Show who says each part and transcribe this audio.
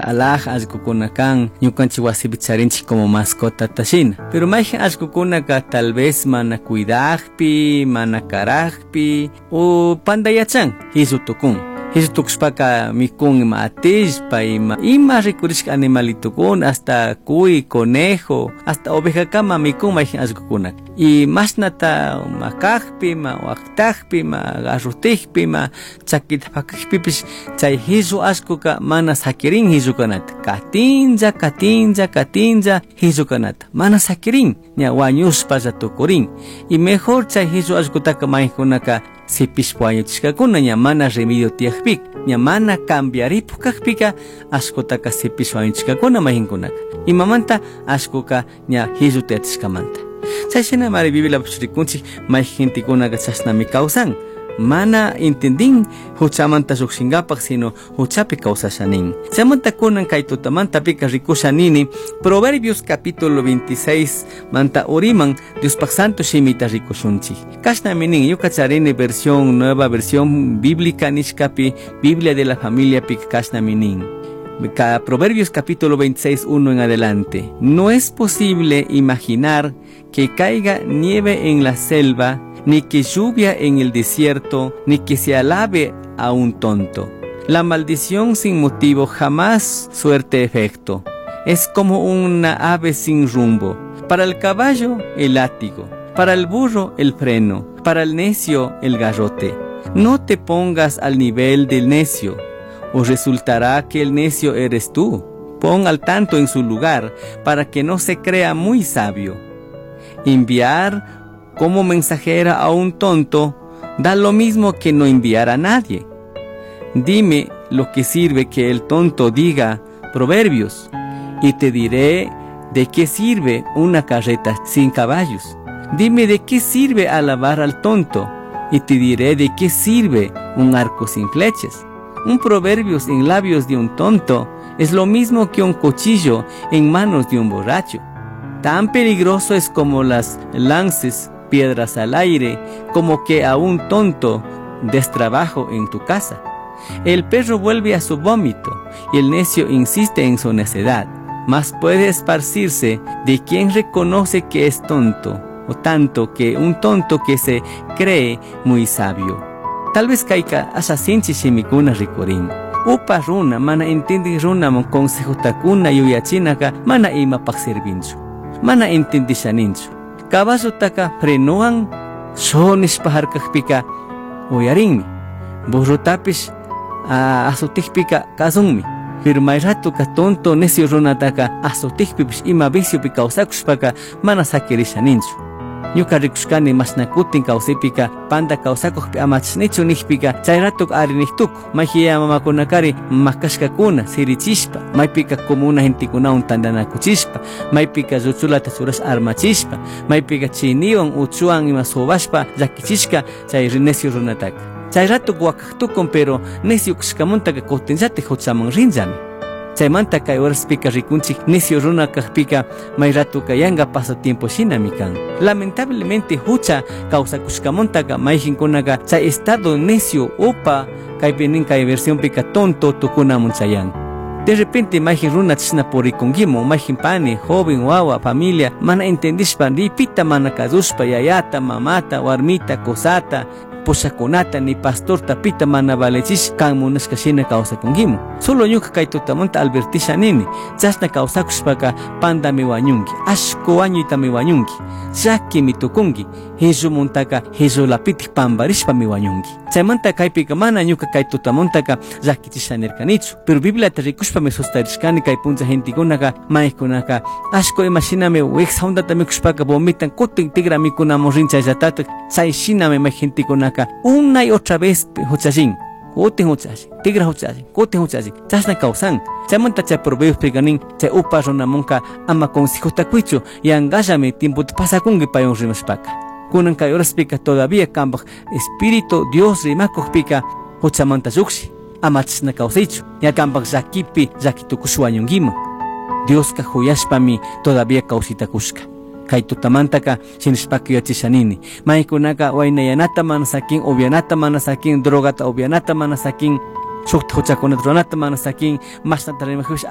Speaker 1: Alhaja allkukuna kan ñukanchik wasipi charinchik como mascotata shina. Pero mayjin allkukunaka tal vez mana cuidakpi, mana karakpi o pandayachan hillu tukun. Hillu tukushpaka mikun ima atishpa, ima rikurishka animalitukuna, hasta cuy, conejo, hasta ovejakama mikun mayjin allkukunaka. Y mashnata makakpi, ma waktakpi, ma garrutikpi, ma chakita pakakpipish chay hillu allkuka mana sakirin hillu kanata. Katinlla, katinlla, katinlla hillu kanata. Mana sakirin, ña wañushpalla tukurin. Y mejor chay hillu allkutaka maykunaka sipishpa wañuchishkakuna ña mana remedio tiyakpika, ña mana cambiaripuk kakpika allkutaka sipishpa wañuchishkakuna mayjinkunaka. Imamanta allkuka ña hillu tiyachishkamanta. Chayshina mari Bibliapish rikunchik mayjin gentekunaka chashnami kawsan. Mana entendin huchamanta llukshinkapak, sino huchapi kawsashanin. Chaymanta kunan kay tutamantapika rikushanini Proverbios capítulo 26 manta uriman Diospaj santo shimita rikushunchik. Kashnami nin, ñuka charini versión nueva versión bíblica nishkapi, Biblia de la familia pika kashnami nin. Proverbios capítulo 26, 1 en adelante. No es posible imaginar que caiga nieve en la selva, ni que lluvia en el desierto, ni que se alabe a un tonto. La maldición sin motivo jamás suerte efecto. Es como una ave sin rumbo. Para el caballo, el látigo. Para el burro, el freno. Para el necio, el garrote. No te pongas al nivel del necio, o resultará que el necio eres tú. Pon al tanto en su lugar, para que no se crea muy sabio. Enviar como mensajera a un tonto da lo mismo que no enviar a nadie. Dime lo que sirve que el tonto diga proverbios, y te diré de qué sirve una carreta sin caballos. Dime de qué sirve alabar al tonto, y te diré de qué sirve un arco sin flechas. Un proverbio en labios de un tonto es lo mismo que un cuchillo en manos de un borracho. Tan peligroso es como las lances piedras al aire, como que a un tonto des trabajo en tu casa. El perro vuelve a su vómito y el necio insiste en su necedad. Mas puede esparcirse de quien reconoce que es tonto, o tanto que un tonto que se cree muy sabio. Tal vez kayka asha sinchi shimikuna rikurin. Upa runa, mana entendin runaman consejotakuna yuyachinaka mana imapaq servinchu. Mana entendishaninchu. Caballotaka frenowan shonishpa harkakpika uyarinmi. Burrotapish azotikpika kasunmi. Pero may ratoka tonto necio runataka azotikpipish ima viciopi kawsakushpaka mana sakirishaninchu. Ñuka rikushkani mashna kutin kawsaypika panda kawsakukpi amachnichu nikpika chay rato ari niktuku mayji mamakunakari makashkakuna sirichishpa maypika comuna gentekunawan tantanakuchishpa maypika lluchulata churashpa armachishpa maypika chiniwan uchuwan ima sobashpa llakichishka chay necio runataka. Chay rato wakaktukun pero necio kashkamuntaka kutinllatik huchaman rinllami. Chaymanta kay horaspika rikunchik necio runa kakpika may ratoka yanga pasatiempo shinami kan. Lamentablemente hucha kawsakushkamuntaka mayjinkunaka chay estado necio upa kaypi nin kay versionpika tonto tukunamun chayan. De repente mayjin runa chishna purikunkimun, mayjin pani, joven, wawa, familia, mana entendishpa, ripita mana kasushpa, yayata, mamata, warmita, kusata, pushakunata, ni pastorta pita mana valechish kan munashka shina kawsakunkimun. Solo ñuka kay tutamanta advertisha nini, chashna kawsakushpaka pandami wañunki, ashku wañuytami wañunki, llakimi tukunki, hillumuntaka hillulapitik pambarishpami wañunki. Chaymanta kaypika mana ñuka kay tutamuntaka llakichisha nirkanichu, pero Bibliata rikushpami sustarishkani kay punlla gentekunaka, maykunaka, ashku ima shinami wiksa hundata mikushpaka vomitan kutin tigra mikunamun rinchayllatatak, chay shinami may gentekunaka una y otra vez huchallin, kutin huchallin, tigra huchallin, kutin huchallin, chashna kawsan. Chaymanta chay proverbios nin, chay upa runamunka ama consejota kuychu, yangallami tiempota pasakunki paywan rimashpaka. Kunan kay horaspika todavía kanpaj espíritu Dios rimakukpika huchamanta llukshi, ama chashna kawsaychu, ña kanpaj llakipi llakitukush wañunkiman. Dioska huyashpami todavía kawsitakushka. Kay tutamantaka shinashpaka yachashanini. Maykunaka waynayanata mana sakin, upianata mana sakin, drogata upianata mana sakin, shukta huchakunata ruranata mana sakin, mashnata rimajpish